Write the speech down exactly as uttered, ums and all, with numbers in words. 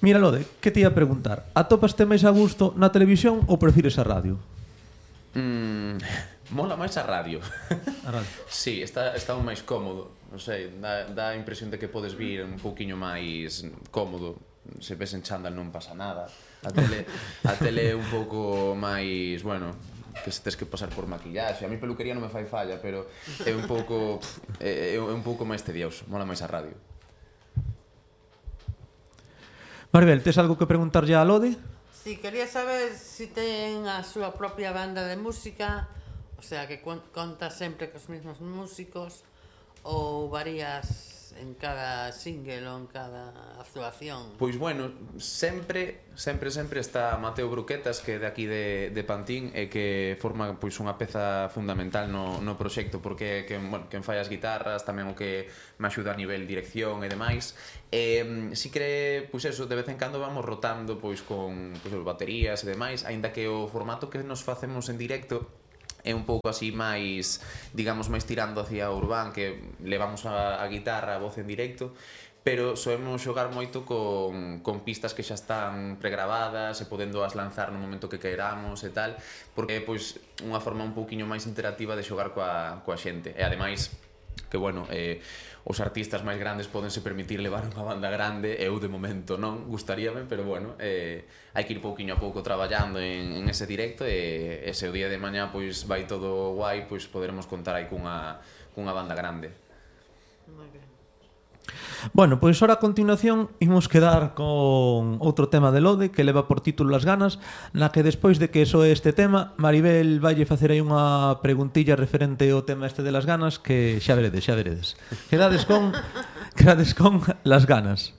Mira, Lode, que te ia a preguntar? Atopaste máis a gusto na televisión ou prefires a radio? Mm, mola máis a radio. A radio. Sí, está, está un máis cómodo. Non sei, dá, dá a impresión de que podes vir un pouquiño máis cómodo. Se ves en chándal non pasa nada. A tele, a tele é un pouco máis, bueno, que se tes que pasar por maquillaxe. A mí peluquería non me fai falla, pero é un pouco é, é un pouco máis tedioso. Mola máis a radio. Maribel, tes algo que preguntarlle a Lode? Sí, quería saber si ten a súa propia banda de música, o sea, que conta sempre cos mesmos músicos, ou varías en cada single ou en cada actuación? Pois bueno, sempre, sempre, sempre está Mateo Bruquetas, que é de aquí de, de Pantín, e que forma pois unha peza fundamental no, no proxecto, porque que, bueno, quen fai as guitarras, tamén o que me axuda a nivel dirección e demais. E si que, pois eso, de vez en cando vamos rotando pois con pois, baterías e demais, aínda que o formato que nos facemos en directo é un pouco así máis, digamos, máis tirando hacia o urbán, que levamos a, a guitarra, a voz en directo, pero soemos xogar moito con, con pistas que xa están pregravadas e podendo as lanzar no momento que queramos e tal, porque é pois unha forma un pouquiño máis interactiva de xogar coa, coa xente. E ademais, que bueno, eh, os artistas máis grandes podense permitir levar unha banda grande, eu de momento non, gustaríame, pero bueno, eh, hai que ir pouquiño a pouco traballando en, en ese directo e ese o día de mañá pois vai todo guai, pois poderemos contar aí cunha, cunha banda grande. Moi ben. Bueno, pois ora a continuación imos quedar con outro tema de Lode que leva por título Las ganas, na que despois de que soe este tema, Maribel vaille facer aí unha preguntilla referente ao tema este de Las ganas, que xa veredes, xa veredes. Quedades con, quedades con Las ganas.